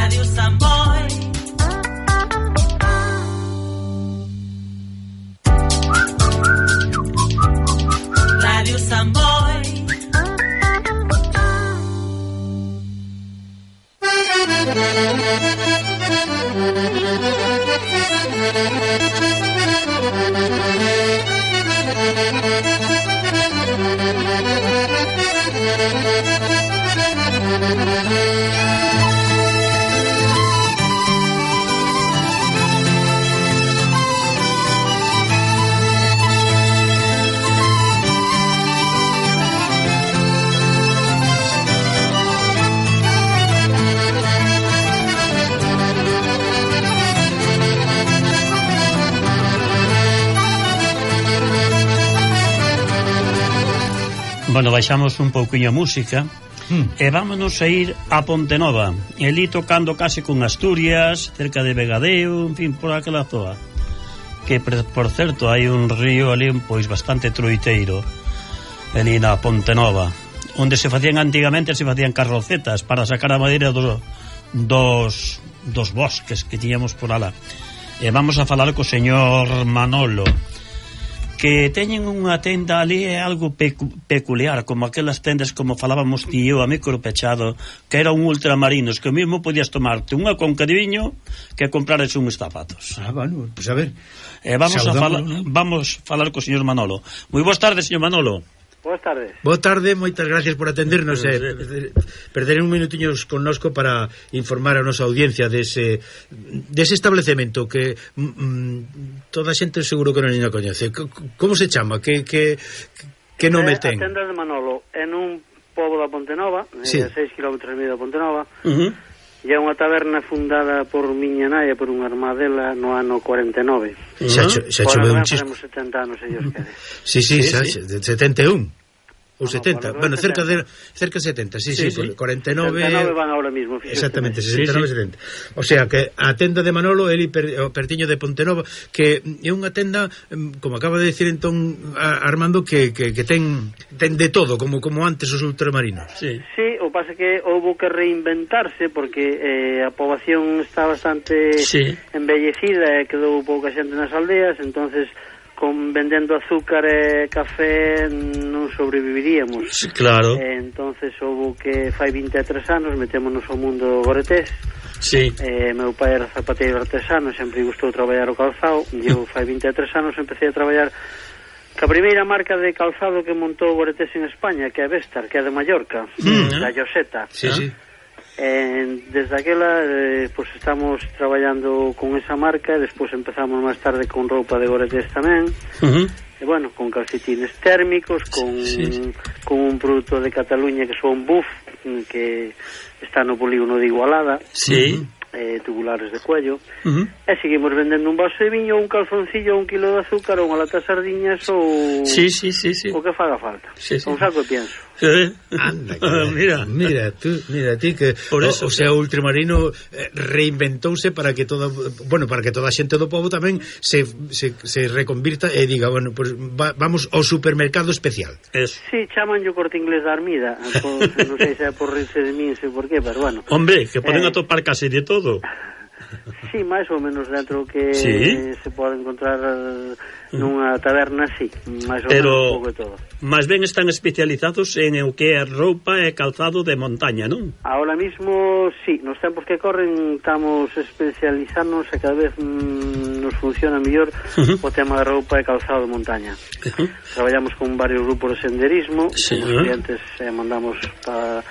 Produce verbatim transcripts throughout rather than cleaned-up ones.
Radio Samboy. Radio Samboy. Bueno, baixamos un pouquiño a música mm. e vámonos a ir a Pontenova, elí tocando case con Asturias, cerca de Vegadeo, en fin, por aquela zoa, que por certo hai un río ali pois bastante troiteiro elí na Pontenova, onde se facían antigamente, se facían carrocetas para sacar a madeira dos, dos, dos bosques que tiñamos por alá. E vamos a falar co señor Manolo, que teñen unha tenda ali, é algo pecu peculiar, como aquelas tendas como falábamos tío, a micro pechado, que eran ultramarinos, que mesmo podías tomarte unha conca de viño que comprares uns zapatos. Ah, bueno, pues a ver. Eh, vamos a falar, ¿no? Vamos a falar co señor Manolo. Moi boas tardes, señor Manolo. Boas tardes. Boa tarde, moitas gracias por atendernos e eh, perder un minutiños connosco para informar a nosa audiencia dese, dese establecemento que mm, toda a xente seguro que non a coñece. Como se chama? Que, que, que nome eh, ten? A tenda de Manolo en un pobo da Pontenova, sí. A seis kilómetros e medio da Pontenova. Uh -huh. E é unha taberna fundada por miña nai por unha armadela no ano cuarenta e nove. Uh -huh. Xa, xa choveu un chisco. Faremos setenta anos, ellos quere. Sí, sí, sí, xa, sí. setenta e un. Ou no, setenta, no, bueno, cerca setenta. de cerca de setenta, sí, sí, sí, sí. cuarenta e nove. setenta e nove van ahora mismo, fíjate. Exactamente, sesenta e nove, sí, sí. setenta. O sea, que a tenda de Manolo, el per, o pertiño de Pontenova, que é unha tenda, como acaba de decir entón Armando, que, que, que ten ten de todo, como como antes os ultramarinos. Sí. Sí, o pasa que houve que reinventarse porque eh, a poboación está bastante sí. embellecida e quedou pouca xente nas aldeas, entonces con vendendo azúcar e café non sobreviviríamos. Sí, claro. Eh, entonces houve que fai vinte e tres anos metémonos ao mundo goretés. Sí. Eh, meu pai era zapateiro artesano, sempre gustou traballar o calzado, e eu fai vinte e tres anos empecé a traballar ca primeira marca de calzado que montou o goretés en España, que é Vestar, que é de Mallorca, mm. da Lloseta. Sí, sí. Eh, desde aquela eh, pues estamos traballando con esa marca, despois empezamos máis tarde con roupa de goretés tamén. Uh -huh. E bueno, con calcetines térmicos, con, sí, sí. con un produto de Cataluña que son Buff, que está no polígono de Igualada. Sí. Eh, tubulares de cuello. Uh -huh. E seguimos vendendo un vaso de viño, un calzoncillo, un kilo de azúcar, ou unha lata de sardiñas, ou sí, sí, sí, sí. o que faga falta. Sí, sí. Un saco de pienso. Sí. Anda, que, mira, mira tú, mira ti que por eso, o, o sea, o ultramarino eh, reinventouse para que toda, bueno, para que toda a xente do pobo tamén se, se, se reconvirta e diga, bueno, pues va, vamos ao supermercado especial. Eso. Sí, chaman yo Corte Inglés da Armida, pues, non sei se é por rirse de min, sei por qué, pero bueno. Hombre, que poden eh, atopar casi de todo. Sí, máis ou menos dentro que sí. se pode encontrar nunha taberna, sí, máis ou pero, menos un pouco de todo. Máis ben están especializados en o que é roupa e calzado de montaña, non? Ahora mismo, sí, nos tempos que corren estamos especializándonos e cada vez mm, nos funciona mellor uh -huh. o tema de roupa e calzado de montaña. Uh -huh. Traballamos con varios grupos de senderismo, sí, os clientes eh, mandamos para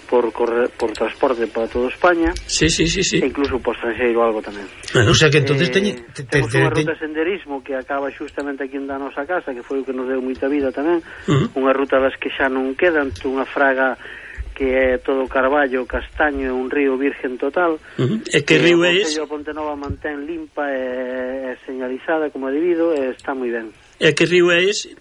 por correr, por transporte para toda España. Sí, sí, sí, sí. E incluso por estranxeiro algo tamén. Uh, o sea que entonces eh, teñe, te, temos te, te, unha te, ruta de senderismo que acaba xustamente aquí en da nosa casa, que foi o que nos deu moita vida tamén. Uh -huh. Unha ruta das que xa non quedan, unha fraga que é todo carballo, castaño, un río virgen total. Uh -huh. E que río é ese? O Concello de Pontenova mantén limpa e, e señalizada como é debido, e está moi ben. E que río é ese?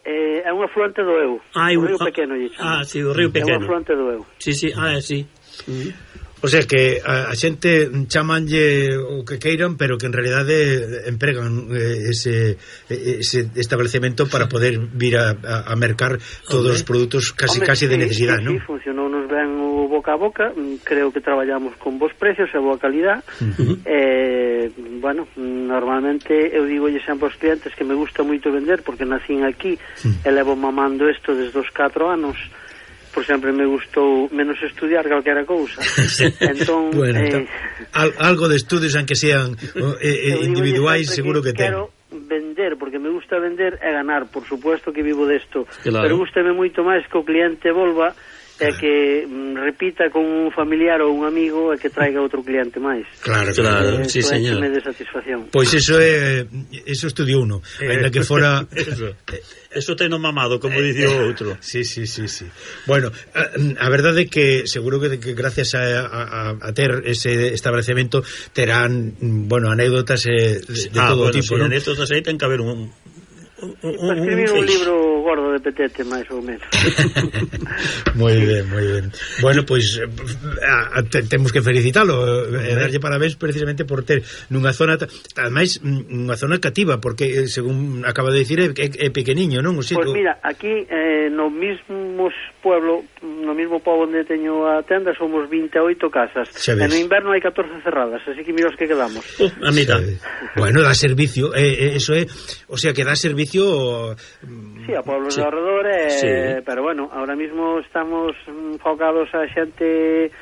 Eh, é un afluente do Eu, ah, o río ah, pequeno lle chama. Ah, sí, o río pequeno. É un afluente do Eu. Sí, sí, ah, sí. Uh -huh. O sea que a, a xente chamanlle o que queiran, pero que en realidade empregan eh, ese, ese establecemento para poder vir a, a, a mercar todos os produtos casi Hombre, casi sí, de necesidade, sí, non? Sí, funcionou nos ben o boca a boca, creo que traballamos con bons precios e boa calidad. Uh-huh. eh, bueno, normalmente eu digo sempre aos clientes que me gusta moito vender porque nacín aquí uh-huh. e levo mamando isto desde os catro anos. Por sempre me gustou menos estudiar calquera cousa. Entón, bueno, eh, al, algo de estudios aunque sean eh, eh, individuais seguro que, que ten. Quero vender, porque me gusta vender e ganar, por supuesto que vivo desto, claro. Pero gústame moito máis que o cliente volva e que mm, repita con un familiar ou un amigo e que traiga outro cliente máis. Claro, claro, eh, sí, señor. de satisfacción. Pois eso é eso estudiou uno, ainda que fora eso. Eso teno mamado, como dicía o outro. Sí, sí, sí, sí. Bueno, a, a verdade é que seguro que, que gracias a, a, a ter ese establecemento terán, bueno, anécdotas eh, de, de ah, todo bueno, tipo, sí, ¿no? anécdotas aí ten que haber un un, un, escribir un, un libro gordo de petete, máis ou menos. Moi ben, moi ben. Bueno, pois a, a, te, temos que felicitalo e eh, darlle parabéns precisamente por ter nunha zona, ademais unha zona cativa, porque según acaba de dicir é, é, é pequeniño, non? O sitio... Pois mira, aquí eh, no mismo pueblo, no mismo pobo onde teño a tenda somos vinte e oito casas. E no inverno hai catorce cerradas, así que mira os que quedamos. Uh, a mitad. Bueno, dá servicio, eh, eh, eso é, o sea, que dá servicio. Sí, a pueblos sí. de alrededor, eh, sí. Pero bueno, ahora mismo estamos enfocados a xente,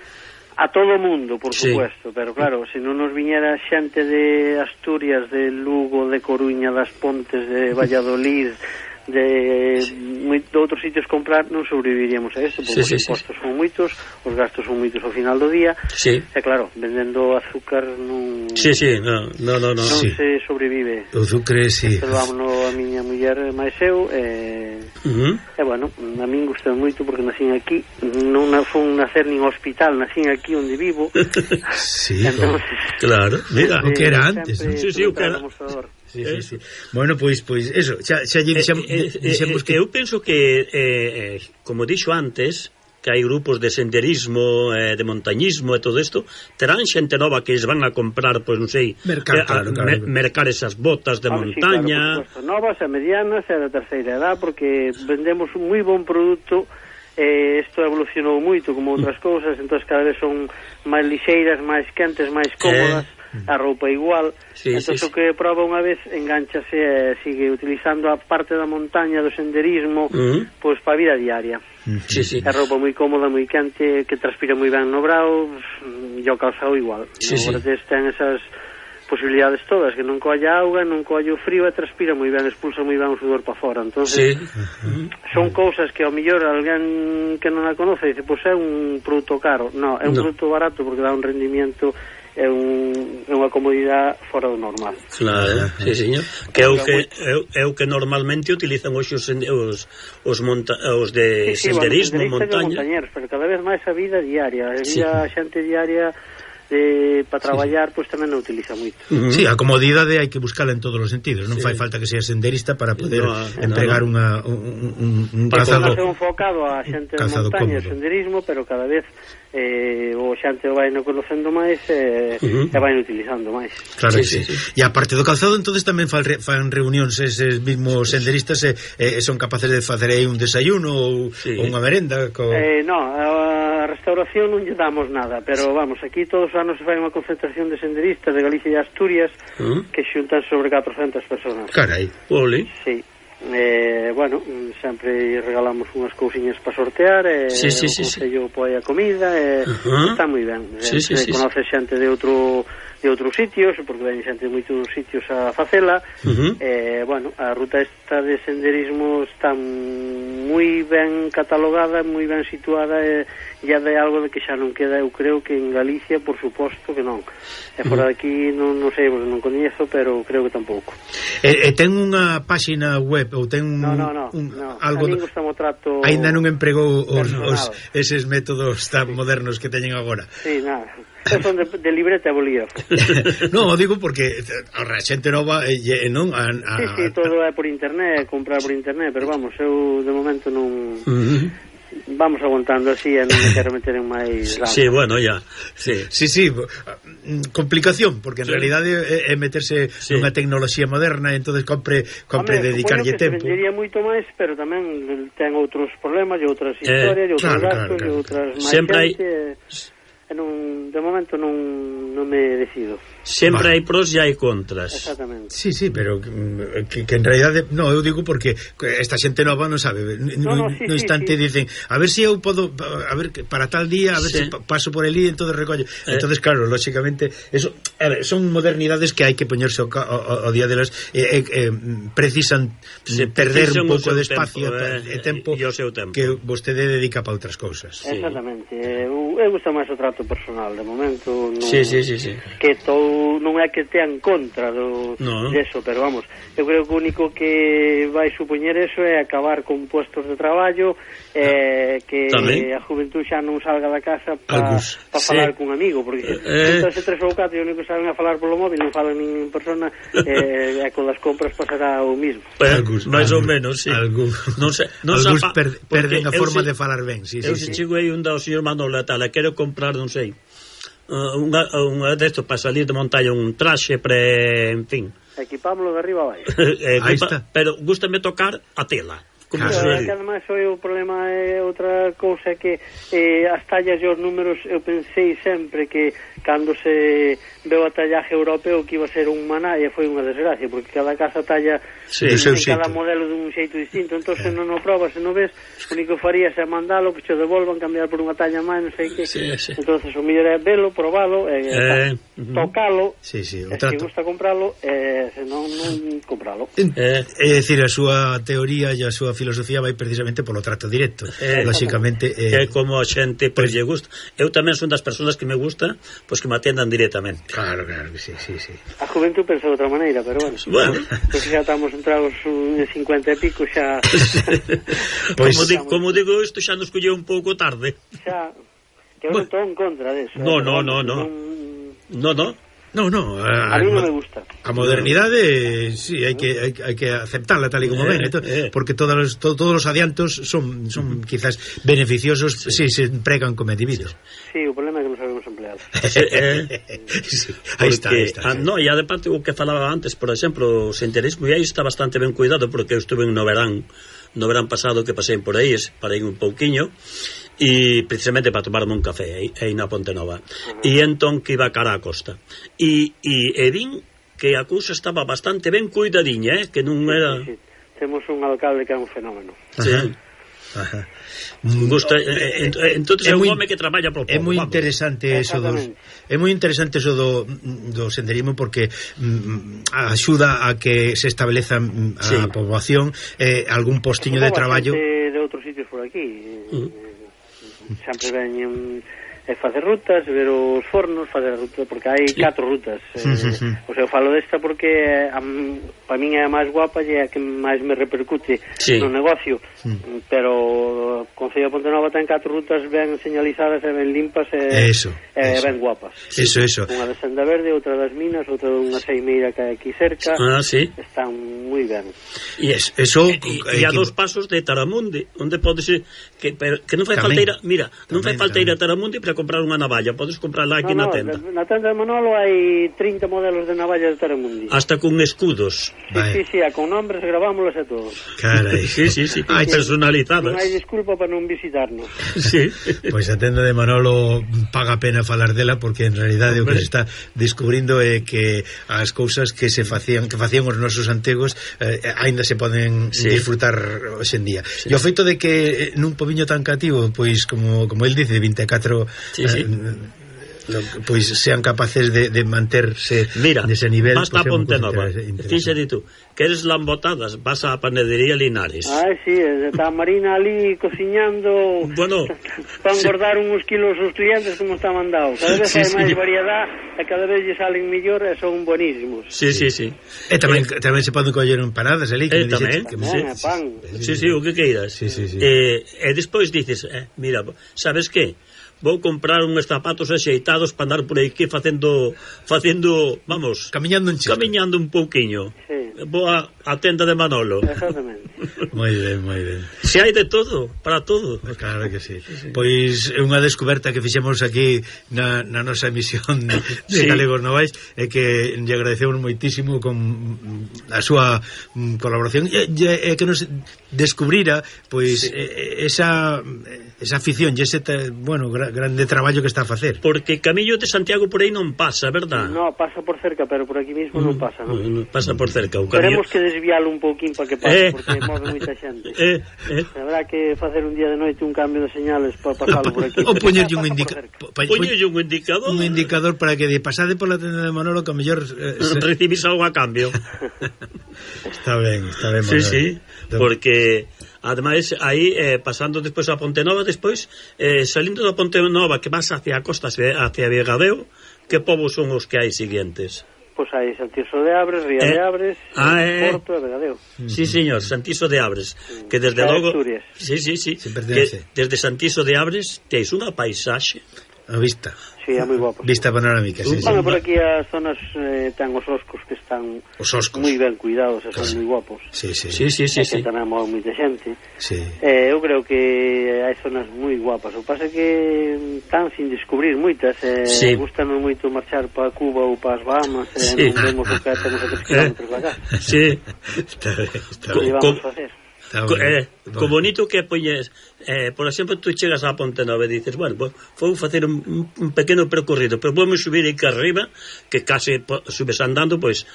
a todo o mundo, por sí. supuesto, pero claro, se non nos viñera xente de Asturias, de Lugo, de Coruña, das Pontes, de Valladolid, de, sí. de outros sitios comprar, non sobreviviríamos a isto, porque sí, os impostos sí, sí. son moitos, os gastos son moitos ao final do día, sí. e claro, vendendo azúcar non sí, sí, no, no, no, no. non sí. se sobrevive. O azúcar, sí. Vámonos a miña muller máis eu, e, uh-huh. e bueno, a min gustou moito porque nacín aquí, non fun nacer nin hospital, nacín aquí onde vivo. Sí, entonces, claro, mira, o que era antes. Sí, sí, o que era. Sí, sí, sí. Bueno, pois pois eso, xa xa lle dixemos eh, eh, eh, que eu penso que eh, eh, como dixo antes, que hai grupos de senderismo, eh, de montañismo e todo isto, terán xente nova que es van a comprar, pois non sei, mercar, eh, claro, claro. Mer mercar esas botas de ah, montaña. Sí, claro, novas e medianas e de terceira edad, porque vendemos un moi bon produto. Eh, isto evolucionou moito como outras cousas, entón cada vez son máis lixeiras, máis quentes, máis cómodas. Eh. A roupa igual, sí, entón sí, o que proba unha vez enganchase e sigue utilizando a parte da montaña do senderismo, uh-huh. pois para a vida diaria. Uh-huh. Sí, sí. A roupa moi cómoda, moi quente, que transpira moi ben no brao, e o calzado igual. Sí, no, sí. ten esas posibilidades todas, que non colla auga, non colla o frío e transpira moi ben, expulsa moi ben o sudor para fora. Entón, sí. uh-huh. son cousas que ao mellor alguén que non a conoce dice, pois é un produto caro. No, é un no. produto barato porque dá un rendimiento, é un, é unha comodidade fora do normal. Claro, sí, señor. Que é o que é o que normalmente utilizan os os os, monta, os de sí, sí, senderismo, bueno, montaña. Pero cada vez máis a vida diaria, a vida sí. a xente diaria de para traballar, sí. pois tamén non utiliza moito. Uh-huh. Sí, a comodidade hai que buscala en todos os sentidos, non sí. fai falta que sea senderista para poder no, empregar no, no. Unha, un, un, un calzado. Para enfocado a xente de montaña, senderismo, pero cada vez eh, o xente vai no conocendo máis e, uh-huh. e vai utilizando máis. Claro, sí, sí, sí. E a parte do calzado, entonces tamén fan, fan reunións eses mismos senderistas e, e son capaces de facer aí un desayuno ou, sí. ou unha merenda co... eh, no, a restauración non lle damos nada, pero vamos, aquí todos os anos se fai unha concentración de senderistas de Galicia e Asturias uh-huh. que xuntan sobre catrocentas personas. Carai, ole. Sí. Eh, bueno, sempre regalamos unhas cousiñas para sortear e sí, sí, o sí, consello sí. poi a comida e uh-huh. está moi ben. Sí, sí, sí, conoce sí. xente de outro de outros sitios, porque ven xente de moitos sitios a facela. Uh-huh. Eh, bueno, a ruta esta de senderismo está moi ben catalogada, moi ben situada e ya de algo de que xa non queda, eu creo que en Galicia, por suposto que non. E fora de aquí non, non sei, non coñezo, pero creo que tampouco. E, e ten unha páxina web ou ten un, no, no, no, un no. algo do... trato aínda non empregou os, os eses métodos tan sí. modernos que teñen agora. Sí, nada. Son de, de libreta e bolígrafo. No, digo porque a xente nova e non a, a... Sí, sí, todo é por internet, comprar por internet, pero vamos, eu de momento non uh-huh. vamos aguantando así e non me quero meter en máis ramos. Sí, bueno, ya. Sí, sí, sí. Complicación, porque en sí. realidade é, é meterse sí. nunha tecnoloxía moderna, entonces compre compre Hombre, dedicarlle tempo. Se vendería moito máis, pero tamén ten outros problemas e outras historias, eh, e outros claro, gastos, claro, claro. e outras máis sempre hai... e non, de momento non, non me decido. Sempre vale. hai pros e hai contras. Exactamente. Sí, sí, pero que, que en realidade no, eu digo porque esta xente nova non sabe. No, no, sí, no instante sí, sí. dicen, a ver se si eu podo, a ver para tal día, a ver se sí. si paso por ali, entonces recollo. Eh. Entonces claro, lógicamente, eso a ver, son modernidades que hai que poñerse ao, ao, ao día delas eh, eh, eh, precisan sí, perder un pouco de espacio tempo, eh, e tempo, tempo que vostede dedica para outras cousas. Sí. Exactamente. Eu, eu gusta máis o trato personal de momento, non, sí, sí, sí, sí. que todo non é que tean contra do no. deso, pero vamos, eu creo que o único que vai supoñer eso é acabar con puestos de traballo, eh, que Tamén. a juventud xa non salga da casa para pa falar sí. cun amigo, porque eh. entonces tres ou catro e o único que saben a falar polo móvil, non falan nin en persona, eh, e con as compras pasará o mismo. Pues, máis ou menos, sí. Algún, non sei, non algúns per, perden a forma si, de falar ben, sí, eu sí, se sí. chego aí un da o señor Manolo tal, quero comprar, non sei, Uh, unha, unha destos para salir de montaña, un traxe pre, en fin, equipámoslo de arriba a baixo. eh, equipa, pero gústame tocar a tela. Como claro, se que además o problema é outra cousa que eh, as tallas e os números, eu pensei sempre que cando se veu a tallaje europeo que iba a ser un maná, e foi unha desgracia, porque cada casa talla sí, en cada xeito. Modelo dun xeito distinto, entón se non o probas, se non ves, o único que farías é mandalo, que che devolvan, cambiar por unha talla máis, non sei que. Sí, sí. Entonces o mellor é velo, probalo, e eh, tocalo, sí, sí, e se gusta compralo, e se non, non compralo. Eh, é dicir, a súa teoría e a súa filosofía vai precisamente polo trato directo. Eh, lógicamente eh, é como a xente pois lle gusta. Eu tamén son das persoas que me gusta, pois que me atendan directamente. Claro, claro, sí, sí, sí. A juventud pensa de outra maneira, pero bueno. Bueno, pois xa estamos entrados en cincuenta e pico xa. Pois como, digo, como digo, isto xa nos colleu un pouco tarde. Xa, que eu non estou en contra deso. No, no, no, no. No, no. No, no, a, a mí non me gusta. A modernidade, sí, hai que hai, hai que aceptarla tal e como eh, ven, to, eh. porque todos os to, todos os adiantos son son quizás beneficiosos se sí. si se empregan como é debido. Sí, o problema é que non sabemos emplear. eh, sí, aí está, aí está. Ah, no, e además o que falaba antes, por exemplo, o senderismo, e aí está bastante ben cuidado, porque eu estuve no verán, no verán pasado que pasei por aí, parei un pouquiño, e precisamente para tomarme un café aí, aí na Ponte Nova. Uh-huh. E entón que iba cara a costa. E, e, e vin que a cousa estaba bastante ben cuidadiña, eh? Que non era... Sí, sí, sí. Temos un alcalde que é un fenómeno. Sí. Ajá. Gusta, eh, eh, entonces é un home que traballa por pouco. É moi interesante eso dos, é moi interesante eso do, do senderismo porque mm, axuda a que se estableza a sí. poboación, eh, algún postiño de traballo de outros sitios por aquí. Uh-huh. Sempre veñen e facer rutas, ver os fornos, facer rutas, porque hai sí. catro rutas. Eh, sí, sí, sí. O sea, eu falo desta porque a, para min é a máis guapa e é a que máis me repercute sí. no negocio. Sí. Pero o Concello de Pontenova ten catro rutas ben señalizadas e ben limpas e, eso, e eso. ben guapas. Eso, eso. Unha de Senda Verde, outra das Minas, outra unha seimeira que hai aquí cerca. Ah, sí. Están moi ben. E es, eso e, e a dos pasos de Taramundi, onde podes ir que, que non fai falta ir a, mira, non fai falta ir a Taramundi para comprar unha navalla, podes comprarla aquí no, no, na tenda. Na tenda de Manolo hai trinta modelos de navalla de Taramundi. Hasta con escudos. Sí, sí, sí, con nombres gravámolos e todo. Carai. Sí, sí, sí, hai personalizadas. Non hai disculpa para non visitarnos. Sí. Pois a tenda de Manolo paga pena falar dela porque en realidade o que se está descubrindo é que as cousas que se facían, que facían os nosos antigos eh, aínda se poden sí. disfrutar hoxe en día. Sí. E o feito de que nun pobiño tan cativo, pois como como el dice, vinte e catro sí, sí. Eh, pois sean capaces de, de manterse mira, nese nivel. Basta pues, Ponte Nova. Fíxate tú, queres lambotadas, vas á panadería Linares. Ah, sí, está Marina ali cociñando bueno, para engordar sí. uns kilos os clientes como está mandado. Cada vez sí, hai sí. máis variedade e cada vez lle salen mellor e son buenísimos. Sí, sí, sí. E tamén, eh, tamén se poden coller en paradas ali. Que eh, tamén, que me tamén, pan. Sí, sí, o que queiras. Sí, sí, sí. Eh, e despois dices, eh, mira, sabes que? Vou comprar uns zapatos axeitados para andar por aí que facendo, facendo, vamos, camiñando un chico. Camiñando un pouquiño. Sí. vou a, a tenda de Manolo. Exactamente. Moi ben, moi ben. Se hai de todo, para todo. Claro que sí. sí, sí. Pois é unha descoberta que fixemos aquí na, na nosa emisión de sí. Galegos Novais, e que lle agradecemos moitísimo con a súa colaboración e, e, e que nos descubrira pois sí. esa esa afición e ese, bueno, gra, grande traballo que está a facer. Porque Camillo de Santiago por aí non pasa, verdad? No, pasa por cerca, pero por aquí mismo mm, non pasa, non? No, pasa por cerca. O Camillo... Teremos que desvialo un pouquín para que pase, eh, porque move moita xente. Eh, eh. Habrá que facer un día de noite un cambio de señales para pasalo por aquí. Ou poñerlle un indicador. Poñerlle un indicador. Un indicador para que de pasade pola tenda de Manolo que a mellor eh, se... recibís algo a cambio. Está ben, está ben, Sí, Manolo. sí, porque ademais aí eh, pasando despois a Ponte Nova, despois eh, salindo da Ponte Nova que vas hacia a costa, hacia Vegadeo, que povos son os que hai siguientes? Pois pues hai Santiso de Abres, Ría eh, de Abres, ah, eh, Porto e Vegadeo. Sí, señor, Santiso de Abres, que desde logo sí, sí, sí, que desde Santiso de Abres teis unha paisaxe a vista. Sí, é moi guapo. Vista panorámica, sí, bueno, sí. Por aquí as zonas eh, ten os oscos que están moi ben cuidados e son moi guapos. Sí, sí. Sí, sí, sí, sí. Que tamén move moita xente. Sí. Eh, eu creo que hai zonas moi guapas. O pasa que están sin descubrir moitas. Eh, sí. Gustanos moito marchar para Cuba ou para as Bahamas. Eh, sí. Non vemos o que temos a tres kilómetros da casa. Sí. Está ben, está ben. Que vamos a facer? Co, eh, co bonito que poñes eh, por exemplo, tú chegas a Ponte Nova e dices, bueno, pues, vou facer un, un pequeno percorrido, pero vamos subir aquí arriba, que case subes andando, pois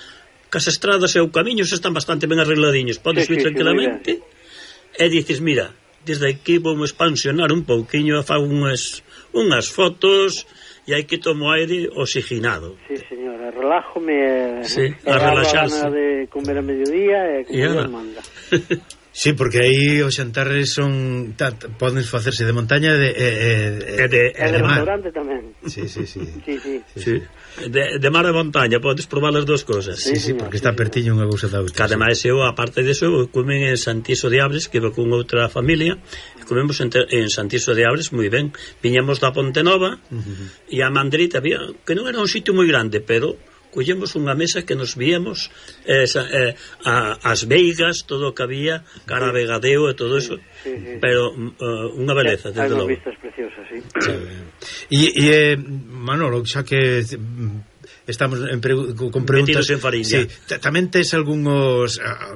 cas estradas e o camiños están bastante ben arregladiños, podes sí, ir sí, tranquilamente sí, e dices, mira, desde aquí vamos expansionar un pouquiño, fago unhas, unhas fotos e hai que tomo aire oxigenado. Sí, señora, relájome sí, e a relaxarse, a de comer a mediodía e comer a manga. Sí, porque aí os xantarres son ta, poden facerse de montaña e de, e, e, e de, e de, de restaurante tamén. Sí, sí, sí. sí, sí. sí, sí. De, de mar e montaña, podes probar as dúas cousas. Sí, sí, sí, porque sí, está pertiño unha cousa da outra. Que ademais eu, aparte deso, comen en Santiso de Abres, que vou con outra familia, e comemos en, en Santiso de Abres moi ben. Viñamos da Ponte Nova uh-huh. e a Mandrita había, que non era un sitio moi grande, pero collemos unha mesa que nos víamos eh, eh, a, as veigas, todo o que había, cara a Vegadeo e todo eso, sí, sí. Pero uh, unha beleza, desde logo. Hai vistas preciosas, sí. E, e eh, Manolo, xa que estamos en pregu con preguntas en sí, tamén tes algúns uh,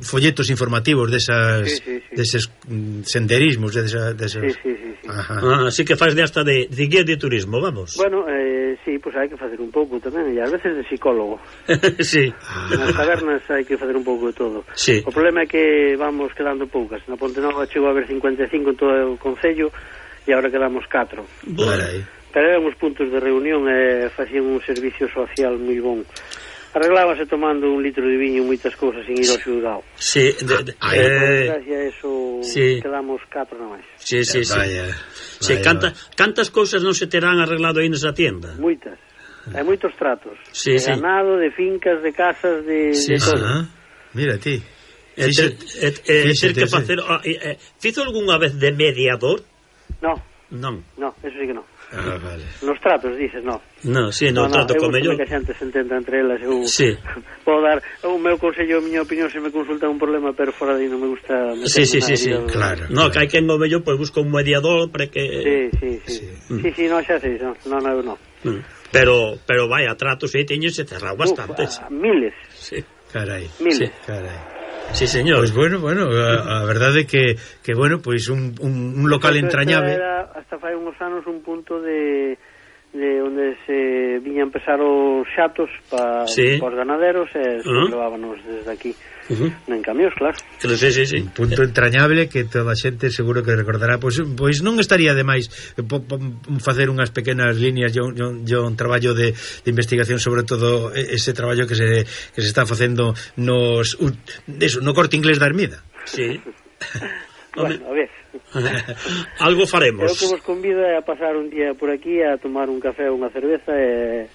folletos informativos desas, sí, sí, sí. deses senderismos desas, desas... Sí, sí, sí, sí. Ah, así que faz de hasta de, de guía de turismo, vamos. Bueno, eh, sí, pues hai que facer un pouco tamén, e ás veces de psicólogo. Sí. Nas tabernas hai que facer un pouco de todo. Sí. O problema é que vamos quedando poucas. Na Ponte Nova chegou a haber cincuenta e cinco en todo o concello e agora quedamos catro. Carai. Pero eran os puntos de reunión e facían un servicio social moi bon. Arreglábase tomando un litro de viño moitas cousas sin ir ao xulgado. Sí, de, de, ah, eh, gracias a eso sí. Quedamos catro na máis. Sí, sí, sí. Vaya, sí vaya. Canta, cantas cousas non se terán arreglado aí nesa tienda? Moitas. Hai moitos tratos. Sí, de sí. ganado, de fincas, de casas, de, sí, de todo. Ah, mira ti. E ter, e, e, ter que facer oh, e, e, fizo algunha vez de mediador? No. Non. No, eso sí que non. Ah, vale. Nos tratos, dices, no. No, sí, no, no trato no, con mellor. Que a xente se entenda entre elas, eu sí. Podo dar o meu consello, a miña opinión se me consulta un problema, pero fora de aí non me gusta. Sí, sí, sí, sí. Claro. No, claro. Que hai quen o mellor pois busca un mediador para que Sí, sí, sí. Sí, sí, sí no, xa sei, no, no, no, no. Mm. Pero pero vai a tratos aí teñense cerrado bastantes. Uf, miles. Sí. Carai. Miles. Sí. Carai. Sí, señor. Pois pues bueno, bueno, a, a verdade que que bueno, pois pues un, un, un local pues entrañable. Era hasta fai uns anos un punto de de onde se viñan pesar os xatos para sí. os ganaderos e se uh -huh. levábanos desde aquí uh -huh. en camións, claro. Claro, sí, sí, sí. Un punto entrañable que toda a xente seguro que recordará. Pois, pois non estaría de máis po, po, facer unhas pequenas líneas e un traballo de, de investigación sobre todo ese traballo que se, que se está facendo nos eso, no Corte Inglés da Ermida. Sí. Bueno, a ver. Algo faremos. Eu que vos convido a pasar un día por aquí a tomar un café ou unha cerveza e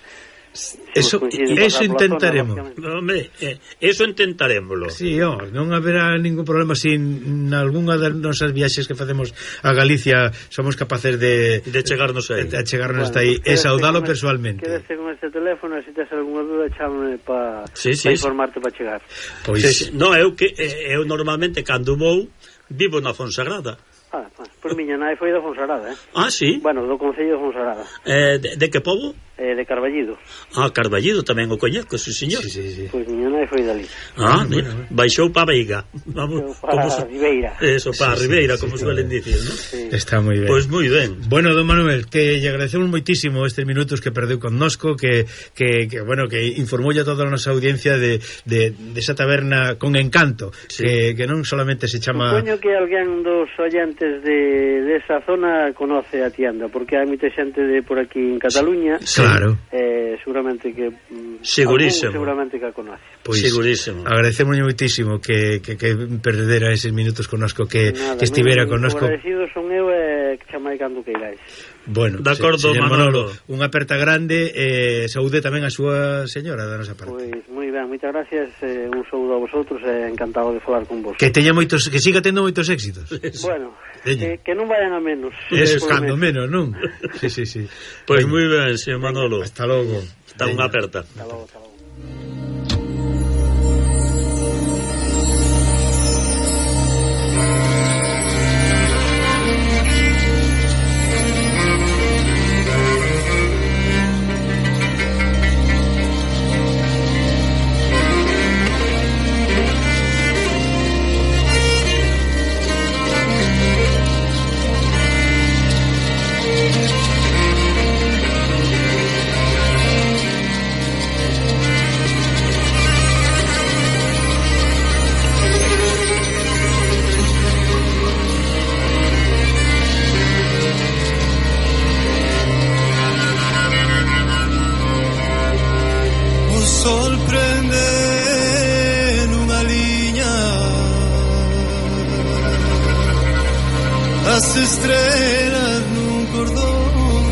Eso, eso intentaremos. Zona, hombre, eh, eso intentaremoslo. Sí, oh, non haberá ningún problema se si nalgúnha das nosas viaxes que facemos a Galicia somos capaces de de chegarnos aí. De chegarnos bueno, hasta aí e saudalo persoalmente. Quédese con este teléfono, e se tes algunha dúda, chámame para sí, sí, pa informarte para chegar. Pois sí, sí. No, eu que eu normalmente cando vou vivo na Fonsagrada. Ah, por miña nai foi da Fonsagrada, eh? Ah, sí? Bueno, do Concello de Fonsagrada. Eh, de, de que pobo? Eh, de Carballido. Ah, Carballido tamén o coñeco, sí, señor. Sí, sí, sí. Pois miña nai foi dali. Ah, mira, bueno, baixou para Veiga. Vamos, para como Ribeira. Eso, para sí, Ribeira, sí, como sí, suelen sí. dicir, ¿no? Sí. Está moi ben. Pois pues moi ben. Bueno, don Manuel, que lle agradecemos moitísimo estes minutos que perdeu connosco, que, que, que bueno, que informou a toda a nosa audiencia de, de, de esa taberna con encanto, sí. que, que non solamente se chama... Supoño que alguén dos oyentes de, de esa zona conoce a tienda, porque hai moita xente de por aquí en Cataluña. Claro. Eh, seguramente que mm, Segurísimo. seguramente que a conoce. Pois, segurísimo. Agradecemos moitísimo que, que, que perdera eses minutos connosco, que, Nada, que estivera moi, connosco. agradecido son eu e que chamai cando queiráis. Bueno, de acordo, se, Manolo. Manolo, unha aperta grande e eh, saúde tamén a súa señora da nosa parte. Pois moi ben, moitas gracias, eh, un saúdo a vosotros e encantado de falar con vos. Que teña moitos, que siga tendo moitos éxitos. Bueno, que, que non vayan a menos. Eso, Por cando menos. menos, non? Sí, sí, sí. Pois Venga. moi ben, señor Manolo. Hasta logo. Está unha aperta. Hasta logo, hasta logo. As estrelas nun cordón,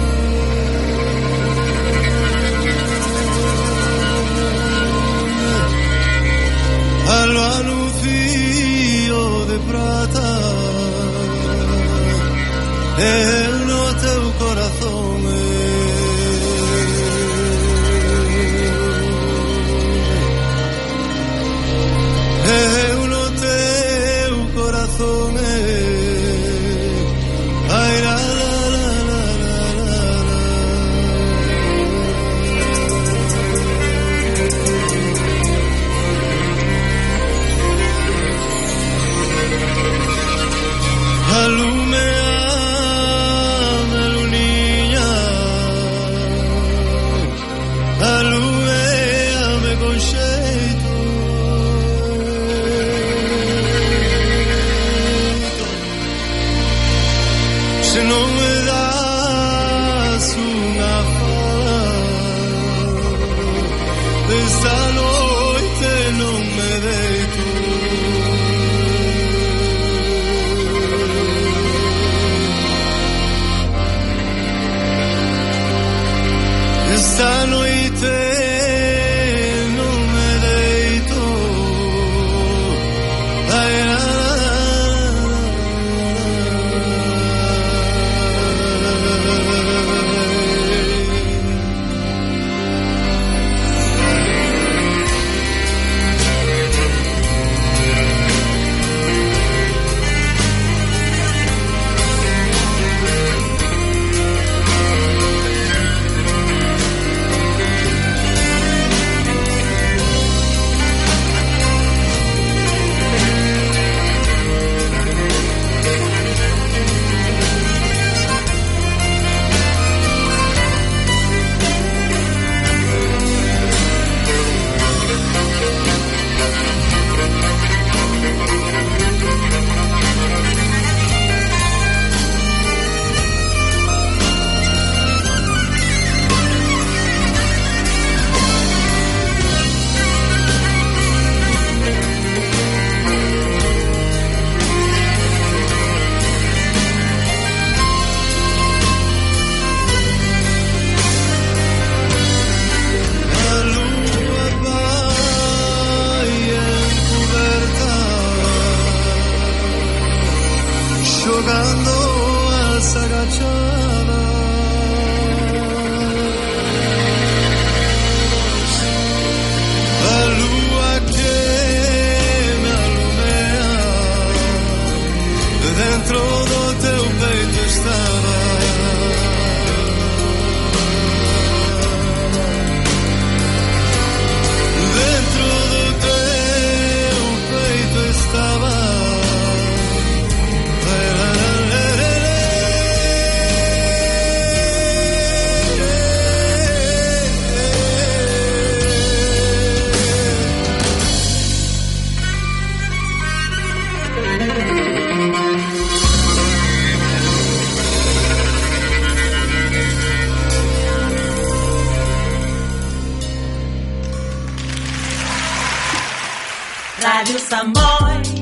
alba nun fío de prata, eu no teu corazón. Eu no teu corazón. Ay, la, la, la, la, la, la. Alumeame, luniña, alumeame con xeito. Se non me das unha fala, esta noite non me deito. Esta noite non me deito. Ai, la, Radio Samboy.